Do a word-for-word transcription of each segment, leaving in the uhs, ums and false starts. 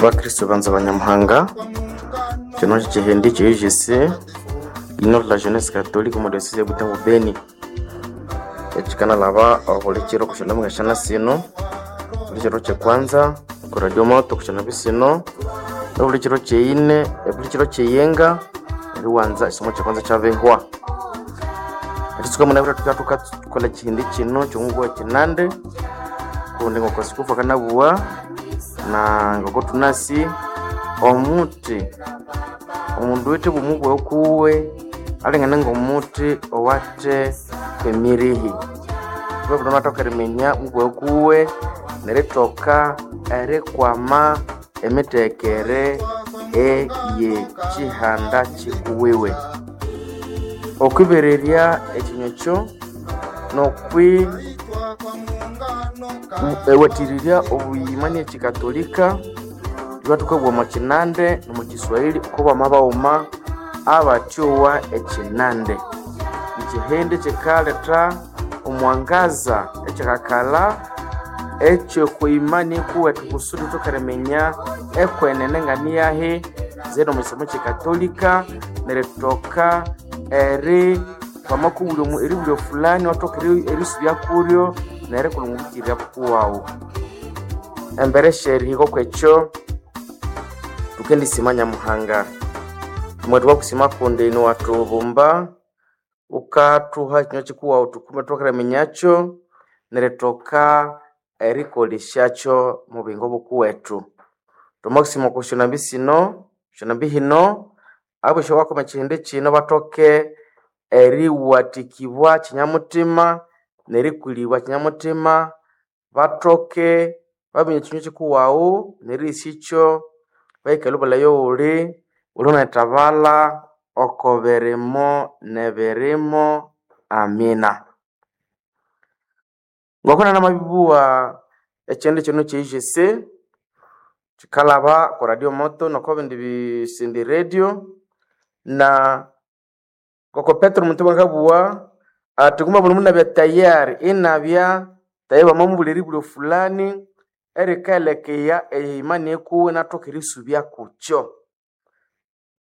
Bakristo banza banyamuhanga kino kyekihindi kye U G C Union de la Jeunesse Catholique omo diocese ya Butembo Beni ekikanalaba obuli kiro kusya syana sino buli kiro kyekwanza ku radio moto kusya sino obuli kiro kyeyine obuli kiro kyeyenga eriwanza ekisomo kyekwanza kyabihwa. Eritsuka munabwire thukabya thukakolha ekihindi kino kyomubugha kinande kundi ngoko sikufu akanabugha na ngoko thunasi omuthi omundu owithe bwomu kuwe alingane ngomuthi owathe kwemirihi. Thukabya thumathoka eriminya mubughe kuwe nerithoka erikwama emitekere eyekyihanda kyikuwiwe. Okwibererya ekinywa ekyo nokwi ewathĩrĩrya obuyima nekyikatolika thukabugha omwa kinande nomwa kiswahili oko bamabaghuma abathyowa ekinande. Ekyihindi kyikaletha omwangaza ekyikakalha ekyokwimani kuwethu kusudi thuthoke eriminya ekwenene nganiyahi zeni omwa kisomo kyekatolika nerithoka eri wamakubulya eribulya fulani iwathoka erisubya kuryo nerikolha omwabukirya bukuwawu. Embere syerihika okwekyo thukendisima Nyamuhanga. Thwamathubwa kusima kundi iniwathubumba wukathuha ekinywa kikuwawu thukume thuthoke eriminyakyo nerithoka erikolesyakyo omwa buyingo bukuwethu. Thwamakusima okwa syonambi sino syonambi hino abosi abakoma ekyihindi kino bathoke eriwathikibwa kinyamuthima nerikulibwa kinyamuthima bathoke baminya ekinywa kikuwawu nerihisyakyo bayikalhe obulhayi owuli wulunayithabalha oko birimo nebirimo amina. Ngoko nanamabibugha ekyihindi kino kye U G C kyikalhaba oko radio moto noko bindi bisindi radio na ngoko Petero muthuma akabugha athi nguma buli mundu inabya tayari inabya tayari bamamubulya eribulyo fulani erikaelekeya eimani ikuwe inathoka erisubya kukyo.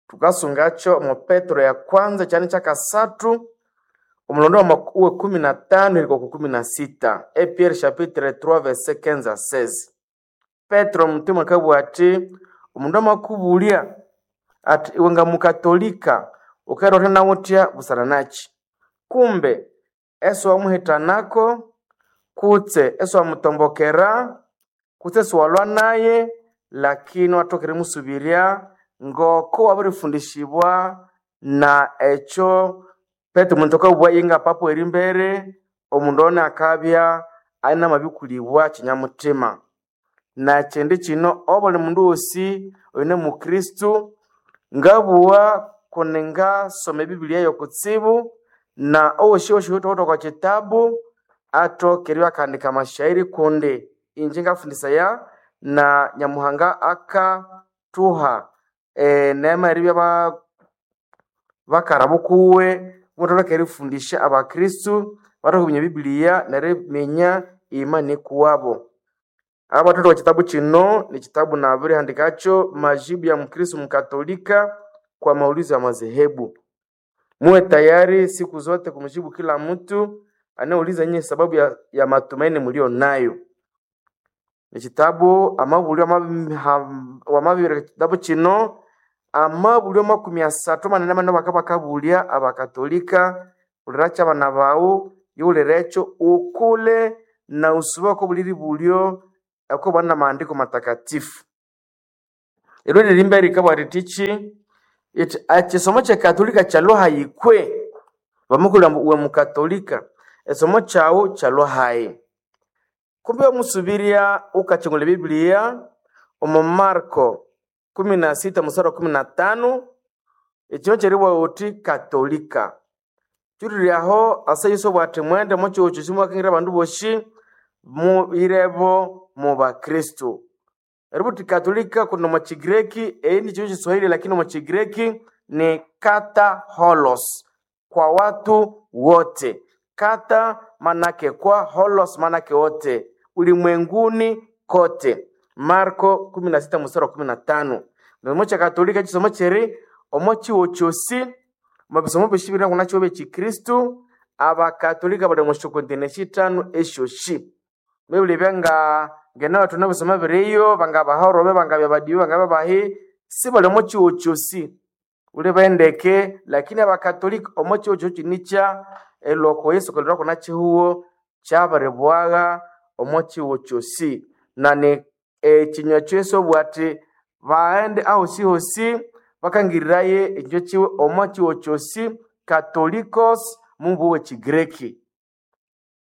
Thukasungakyo omo Petero ya kwanza ekyanda kyakasathu omulondo wekumi na tano erihika okwa kumi na sita E Pierre chapitre trois verset quinze à seize. Petero muthuma akabugha athi omundu amakubulya athi iwe ngamukatolika wukerotha nawuthya busana nakyi? Kumbe esiwamuhitanako kutse esiwamutombokera kutse esiwalwa naye lakini iwathoka erimusubirya ngoko wabirifundishibwa na ekyo Petero omuntu akabugha inga papa werimbere omundu ono akabya inamabikulibwa kinyamuthima. Nekyindi kino obuli mundu wosi oyune mukristu ngabugha kundi ngasoma ebibiliya yokutsibu na owosiwosi oyuthawithe okwa kitabu athoke eribya akahandika amashairi kundi inje ngafundisaya na Nyamuhanga akathuha eneema eribya bakara bukuwe mubathoke erifundisya abakristu bathoke eriminya ebibiliya neriminya imani kuwabo. Abathatha okwa kitabu kino nikitabu nabirihandikakyo majibu ya mukristu mukatolika kwa maulizo ya madhehebu. Muwe tayari siku zote kumjibu kila mtu anayeuliza nyinyi sababu ya, ya matumaini mlio nayo. Ekitabu amabulyo wamabibireka ekitabu kino amabulyo makumi asathu manene manene bakabakabulya abakatolika wulira abana bawu yiwulira ekyo ukule na usube oko buli ribulyo okubana na maandiko matakatifu. Eryo lirimba rikabugha rithiki ithi ekisomo kyekatolika kyalhwa kwe bamukulha ambu iwe mukatolika ekisomo kyawu kyalhwa hayi. Kumbi wamusubirya wukakyungulha ebibiliya omo Marko kumi na sita musari wa kumi na tano ekinywa kyeribugha wuthi katolika. Kyulire aho asa Yesu abugha athi mwende omwa kyihugho kyosi mukakangira abandu bosi muyirebo mubakristu. Eributhi katolika kundi omwa Kigireki eyi ni Kiswahili lakini omwa Kigireki ni kata holos kwa watu wote. Kata manake kwa, holos manake wote, ulimwenguni kote. Marko kumi na sita mstari wa kumi na tano. Nomo cha Katolika chisomo cheri omo chiwo chosi mabisomo bishibiri kuna chiwo chikristu abakatolika bali mu kontine shitano eshoshi mebuli byanga ngena watu nabisoma biriyo banga bahorobe banga byabadiyo banga babahi si bali omo chiwo chosi uli bendeke lakini abakatolika omo chiwo chosi nicha eloko Yesu kalira kuna chihuo kyabaribwaga omo chiwo chosi na ni ekinywa kyesu bwati baende ahosi hosi bakangiriraye ekinywa kiwe omo chiwo chosi katolikos mumbu w'ekigreki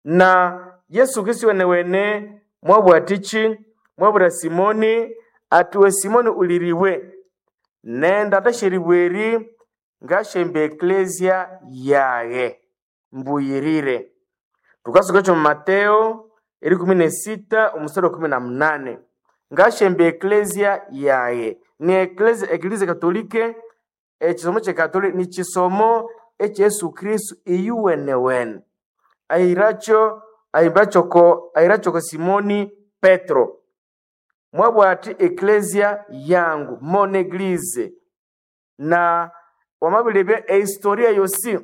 na Yesu Kristo wene wene mwabwatichi mwabura Simoni atiwe Simoni uliriwe nenda tasheribweri ngashembe eklesia yaye mbuyirire tukasuka kyo Mateo eri kumi na sita omusoro kumi na munane ngashembe eklesia yaye ni eklesia eklezia katolike ekisomo kye katolike ni kisomo ekya Yesu Kristo iyuwenewene ahiracho ahimbachoko ahirachoko Simoni Petro mwabwati eklesia yangu mon eglise na wamabilibya ehistoria yosi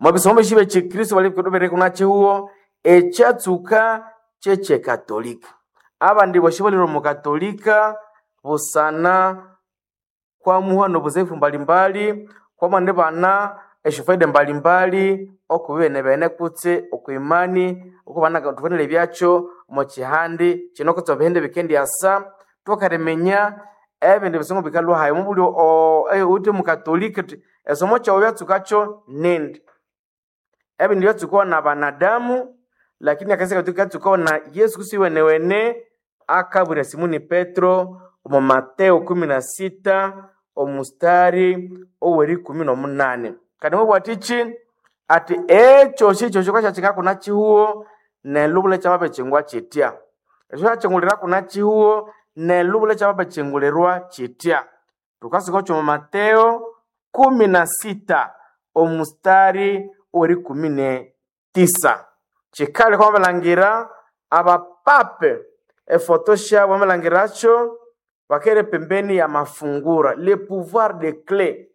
mwabisomo bishibe chikristo bali kuna chihuo ekyatsuka kyekye-katolika abandi boshi balire omu katolika busana kwamuha nobuzefu mbalimbali kwamwandi bana esyofaida mbalimbali okubibene bene kutse okwimani okubana thufanire byakyo omu kihandi kino kutse ebihindi bikendyasa thukariminya ebindi bisomo bikalwa hayi omubuli uwithe mukatolika uthi esomo kyawu byatsukakyo nindi ebindi byatsukawa na banadamu lakini akanisa katolika katsukawa na Yesu Kristo iwenewene akabwira Simoni Petro omu Mateo kumi na sita omustari ow'erikumi n'omunane kandi mubwatichi ati ekyosi kyokyo kwakyakika kuna chihuo nelubula kyababechingwa chitya ekyo kyakyingulira kuna chihuo nelubula kyababechingulirwa chitya tukasuka kyo mu Mateo kumi na sita omustari ow'erikumi ne tisa kikali kwamalangira abapape efoto syabo wamalangirakyo bakere pembeni ya mafungura le pouvoir de clé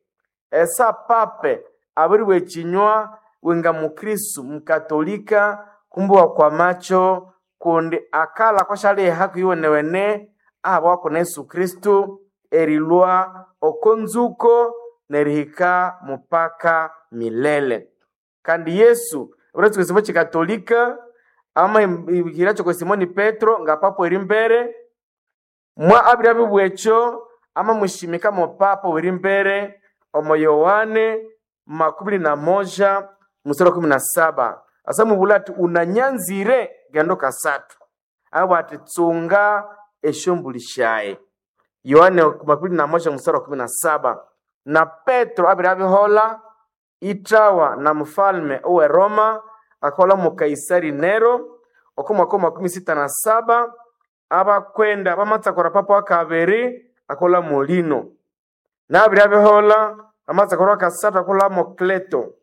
esa pape abiriwa ekinywa wenga mukristu mukatolika kumbuwa kwa macho kundi akala kwashaliha kuiwenewene ahabwako na Yesu Kristu erilwa okonzuko nerihika mupaka milele kandi Yesu uretsuka ekisomo kikatolika ama ihiracho kwa Simoni Petro nga papo eri mbere mwa abiri abibwekyo ama mushimika mo papa weri mbere omo Yohane makumi na moja mstari wa kumi na saba asa mubula ati unanyanzire gendo kasatu abo ati tsunga esyombuli syaye Yohane makumi na moja mstari wa kumi na saba na Petro abiri abihola itawa na mfalme owe Roma akola mu Kaisari Nero oko mwaka wa makumi sita na saba abakwenda bamatsakora papa wa kabiri akola molino nabiri abihola amatsakora wakasathu akola mo Kleto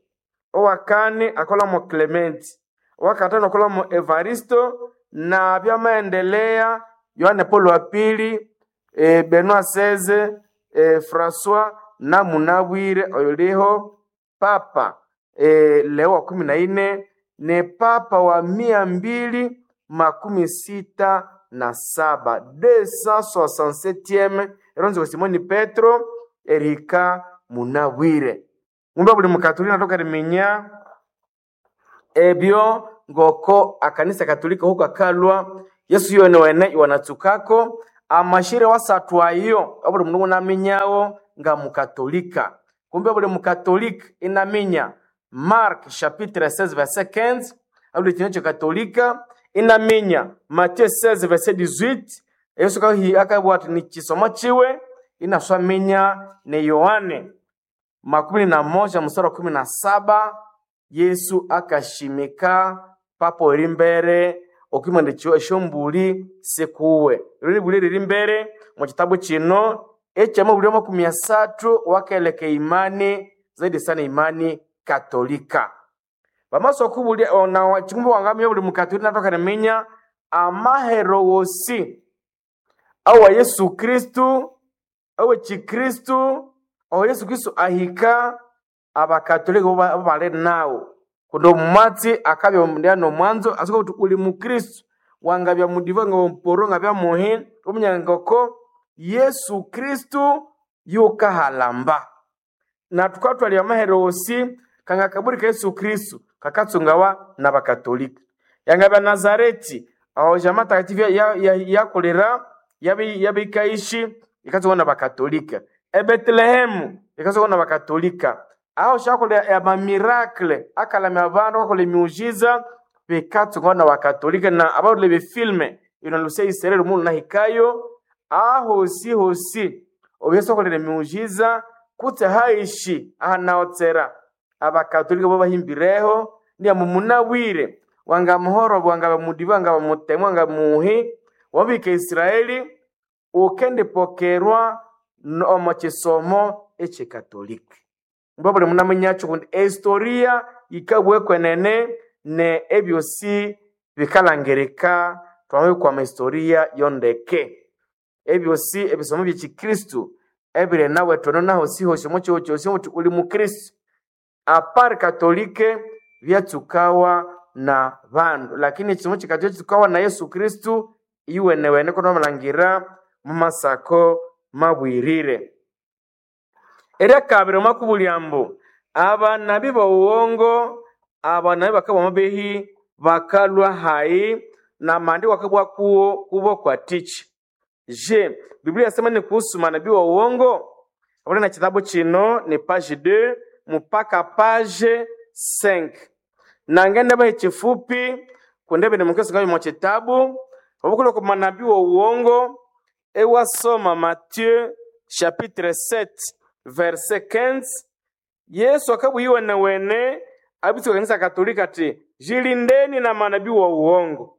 owakane akola mo Clementi owakatano akola mo Evaristo na byamaendelea Yohane Paulo wa pili e, Benoit seize e, Francois na munabwire oyuliho papa e, Leo wa kumi na nne ni papa wa mia mbili makumi sita na saba deux cent soixante-septième eronzi wa Simoni Petro erika munabwire ngumba buli mukatolika natoka riminya ebyo ngoko akanisa katolika huko akalwa Yesu yone wene iwanatsukako amashire wasathu ayo abuli mundu unaminyawo nga mukatolika kumbe buli mukatolika inaminya Mark chapitre seize verset quinze abuli kinyo kyekatolika inaminya Matthieu seize verset dix-huit Yesu kahi akabwa ati ni kisomo chiwe inaswaminya ni Yohane makumi na moja mstari wa kumi na saba Yesu akashimika papo eri mbere okwimandikiwa esyombuli sikuwe riri buli riri mbere mu kitabu kino ekyamabuli makumi asathu wakeleka imani zaidi sana imani katolika bamaso okubulya ona chikumbu wangamya buli mukatolika natoka niminya Amahero wosi awa Yesu Kristu awe Chikristu aho Yesu Kristu ahika abakatolika bo bali nawo kundi omumatsi akabya ndya nomwanzo asuka kuti uli mukristu wangabya mudiva nga mporo ngabya muhi omunyangoko Yesu Kristu yukahalamba na tukatwalya amahero wosi kanga kaburi ka Yesu Kristu kakatsungawa n'abakatolika yangabya Nazareti aho jamaa takatifu yakulira yabikaishi ikatsungawa n'abakatolika ebetelehemu ikatsungawa n'abakatolika aho shakolera amamirakle akalamya abandu akakola emiujiza bikatsungawa n'abakatolika na abarule befilme ino lusia isereri omundu nahikayo ahosi hosi obu Yesu akolera emiujiza kutse haishi ahanaotsera abakatolika bo bahimbireho ndiya mumunabwire wanga muhoro wanga mudiva wanga mutemu wanga muhi wabika Israeli ukendipokerwa omo kisomo ekyekatolika mba buli munamanyakyo kundi ehistoria yikabwa kwenene ne ebyosi bikalangirika twamabikwama historia yondeke ebyosi ebisomo byekikristu ebiri nawe tono nahosi hosi omo kihoo kyosi omuti uli mukristu apari katolike byatsukawa na bandu lakini ekisomo kikatolika kitsukawa na Yesu Kristu iwenewene kono bamalhangira mumasako mabwirire. Eryakabiri omwakubulya ambu abanabi b'owuwongo abanabi bakabwa amabehi bakalwa hayi namandi wakabwa kuwo kubo kwa tichi. Je, Biblia yasema ni kuhusu manabii wa uongo? Abone na kitabu chino ni page deux mpaka page cinq. Nangende bahe chifupi kundebe ni mukesi ngayo mwa kitabu obukule ku manabii wa uongo ewasoma Matthieu chapitre sept verset quinze. Yesu akabwiwe wene abitsi kanisa Katolika ati jilindeni na manabii wa uongo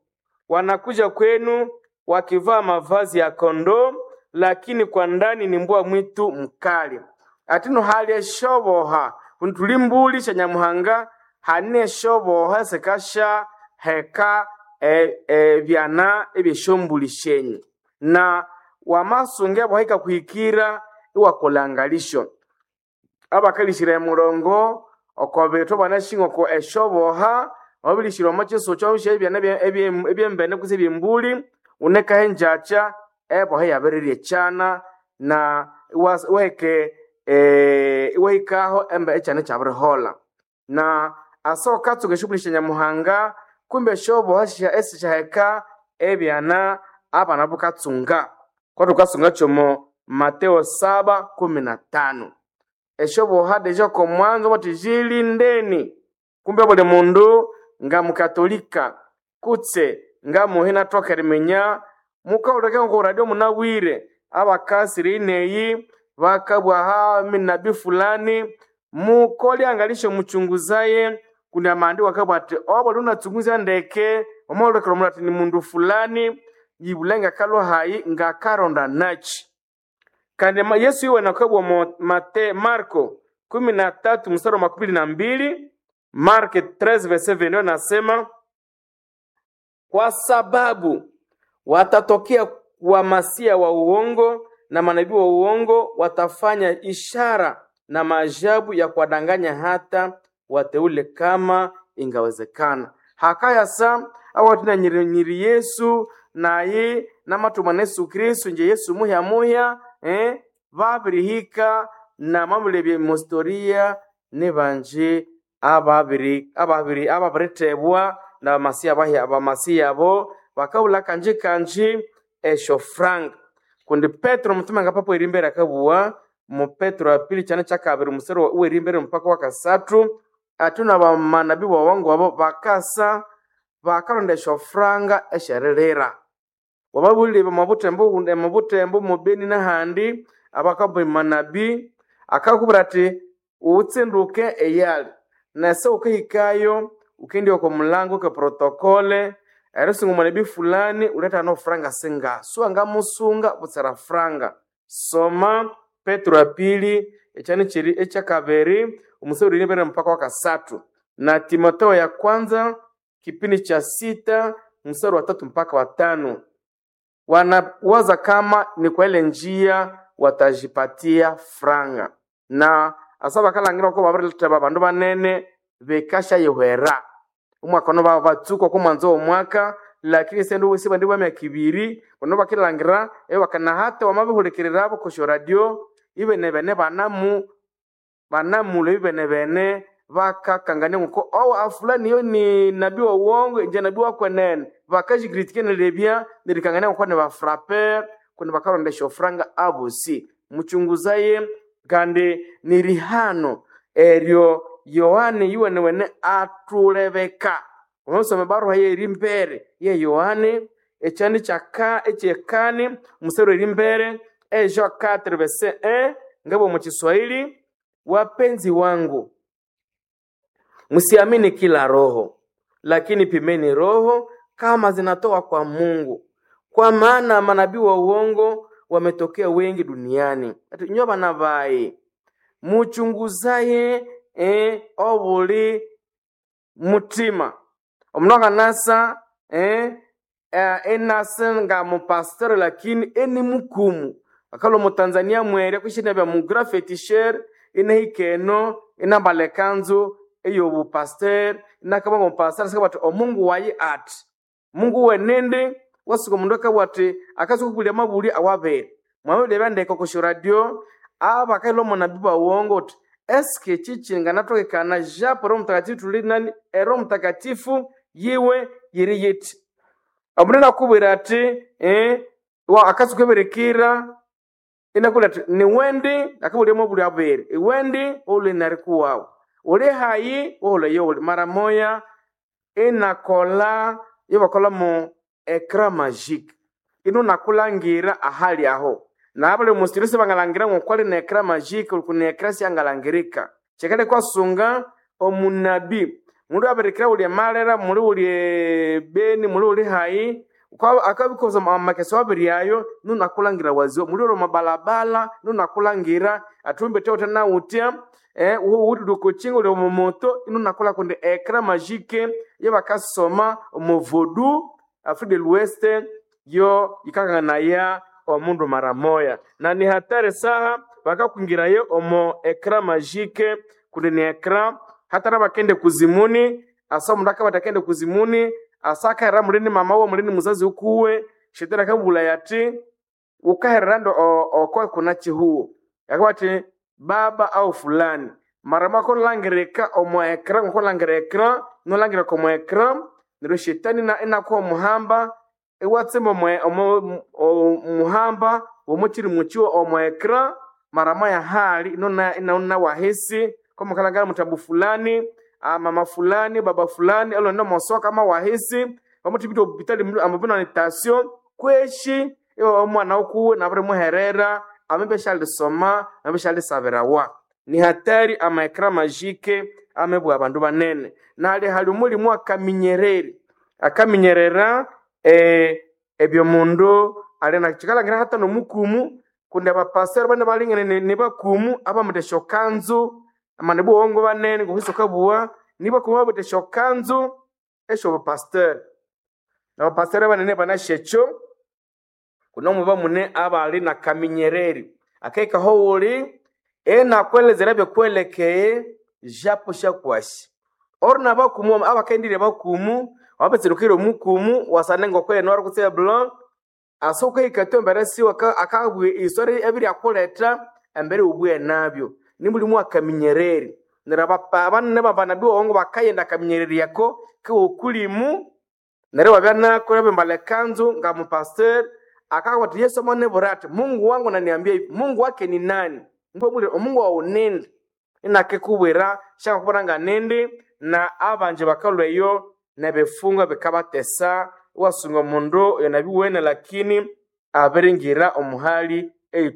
wanakuja kwenu wakivaa mavazi ya kondoo lakini kwa ndani ni mbwa mwitu mkali. Atino hali eshoboha kundi mbuli sha Nyamuhanga hane eshoboha sekasha heka e, e, byana ebyeshombuli shenyu na wamasunge aboheka kuhikira iwakolangalisho abakalishira emurongo oko bithu banashinga oko eshoboha wabilishira omo chiso kyobisha ebyana ebyembene kutse ebyembuli unekaho enjacha eboha yabirirya ekyana na iwaheke iwahikaho embe ekyana ekyabiriholha na asa ukatsuka eshughuli sya Nyamuhanga kumbe esyoboha esisyaheka ebyana abana bukatsunga kwathu thukasunga kyomo Mateo saba kumi na tano esyoboha deja okomwanzo bathi jilindeni kumbe buli mundu nga mukatolika kutse nga muhi nathoka eriminya mukahuleka ngoko radio munabwire abakasire ineyi bakabwaha minabi fulani mukole angalisho muchunguzaye kundi amandi akabwa ati obuli unatsunguzya ndeke omwalekera omundu ati ni mundu fulani yibule ngakalwa hayi ngakaronda nachi kandi Yesu iwe nakabwa mo Mate Marko kumi na tatu mstari wa makumi na mbili Marko treize verset vingt-deux nasema kwa sababu watatokea wamasia wa uongo na manabii wa uongo watafanya ishara na maajabu ya kuwadanganya hata wateule kama ingawezekana. Hakaya sa awatina nyiri, nyiri Yesu naye namatuma na Yesu Kristu nje Yesu muhya muhya eh, babirihika na mamulebye mustoria ni banje ababiri ababiri ababiritebwa na bamasiya bahya abamasiya abo bakabula kanji kanji esho frank kundi Petro mutume nga papo erimbere akabuwa mu Petro wa pili chane chakabiri musero werimbere mpaka wakasatu atuna bamanabi bawongo abo bakasa bakalonda esho franga eshererera wababulire mabutembo mabutembo mubeni n'ahandi abakaba manabi akakubwira ati utsinduke eyali nase ukahikayo ukindi oko mulango ke protokole erisinga omwanabi fulani uleta no franga singa suanga musunga butsera franga soma Petro ya pili ekyani kiri ekyakabiri omusori uri mpaka wakasatu na Timotheo ya kwanza kipindi cha sita mstari wa tatu mpaka wa tano. Wanawaza kama ni kwa ile njia watajipatia franga na asa bakalangira ko babiriletheba abandu banene bekashayihwera omwaka ono babatsuka oko mwanzo w'omwaka lakini sende sibandi bwa myaka ibiri bono bakilangira ebakanahata wamabihulikirira kosyo radio ibene bene banamu banamulwa ibene bene bakakangania nguko owo afulani yo ni nabii wa uongo inje nabii wa kwenene bakajikritike nelebya nerikangania nguko ni bafraper kundi bakarondesha ofranga abosi muchunguzaye kandi ni rihano eryo Yohane yuwene wene atulebeka unosoma baruha ye mbere ye Yohane ekyani kyaka ekyekani musero eri mbere e Jean quatre verset un ngabo mu Kiswahili wapenzi wangu msiamini kila roho lakini pimeni roho kama zinatoka kwa Mungu kwa maana manabii wa uongo wametokea wengi duniani. Ati nyo bana bayi muchunguzaye eh, obuli mutima omundu akanasa eh, eh, enasa nga mupasiteri lakini eni mukumu akalo mutanzania mwere kwishina bya mugra fetisher inahika eno inambala ekanzu ey'obupasiteri inakaba nga omupasiteri asika bati omungu wayi ati mungu wenende wasuka omundu akabugha ati akasuka kubulya amabulya awabere mwamabulya ebyandeka okosyo radio abakailwa omunabi bawongo uti eske chichi nganatokekana japo Roho Mtakatifu tuli nani e Roho Mtakatifu yiwe yiri yiti omundu nakubwira ati eh, wa akasuka ebirekera inakubwira ati niwendi akabulya amabulya abere iwendi uli narikuwawu uli hayi wohuleyo uli mara moya inakola ibakola mu ecran magique ino nakulangira ahali aho nabali musiri sibangalangira ngokwali na ecran magique uli kuna ecran syangalangirika kyekale kwasunga omunabi mundu abirikira uli emalera muli uli beni muli uli hayi akabikoza amakeso abiri ayo nunakulangira waziwa muli uli mabalabala nunakulangira atumbe teute nautya eh, uli kuchinga uli omumoto inunakula kundi ecran magique yebakasoma omu voodoo Afrique de l'Ouest yo ikakanganaya omundu mara moya na ni hatari saha bakakwingirayo omo ecran magique kundi ni ecran hata nabakende kuzimuni asa omundu akabata akende kuzimuni asa akaherera mulini mama uwe mulini muzazi ukuwe shetani akabulaya ati ukaherera ndo oko kuna chihuo akabati baba au fulani mara mako langirika omo ecran ngoko langira ecran nolangirika omo ecran neryo shetani ina- inakuha omuhamba iwatsimba omo- omo- omuhamba womukiri mukiwa omo ecran mara moya hali inona inaona wahisi komukalangala mutabu fulani ah, mama fulani baba fulani alonda mosoka ama wahisi pamutipita obupitali amapina ni tasio kweshi iwe omwana ukuwe nabiri muherera amebe shalisoma amebe shalisabirawa ni hatari ama ecran magique amebwa abandu banene nali hali omulimu akaminyereri akaminyerera eh, ebyo mundu ali nakikalangira hata nomukumu kundi abapasiteri bane balingene ni- ni bakumu abamutha esyokanzu amana buwongo banene ngokwisi okabuwa nibakumu abamutha esyokanzu esyobupasiteri nabapasiteri banene banasya ekyo kuno muba mune abali nakaminyereri akahikaho wuli enakwelezera byokwelekeye japo syakwasi ori nabakumu abakaendire bakumu wabetserukire omukumu wasane ngokwene wari blanc asa ukahika tu embere siwe akabwe isori ebiri akuleta embere ubwe nabyo nimulimu akaminyereri neryo abapa- abanene babanabi wongo bakayenda akaminyereri yako kiwokulimu neryo wabya nako yabembala ekanzu nga mupasiteri akabwira ati Yesu amanebura ati Mungu wangu naniambia hivi Mungu wake ni nani mbwebulire omungu wawu nindi inakikubwira syakakubona nga nindi na abanje bakalweyo nebifungo bikabatesa iwasunga omundu oyo nabiwene lakini abiringira omuhali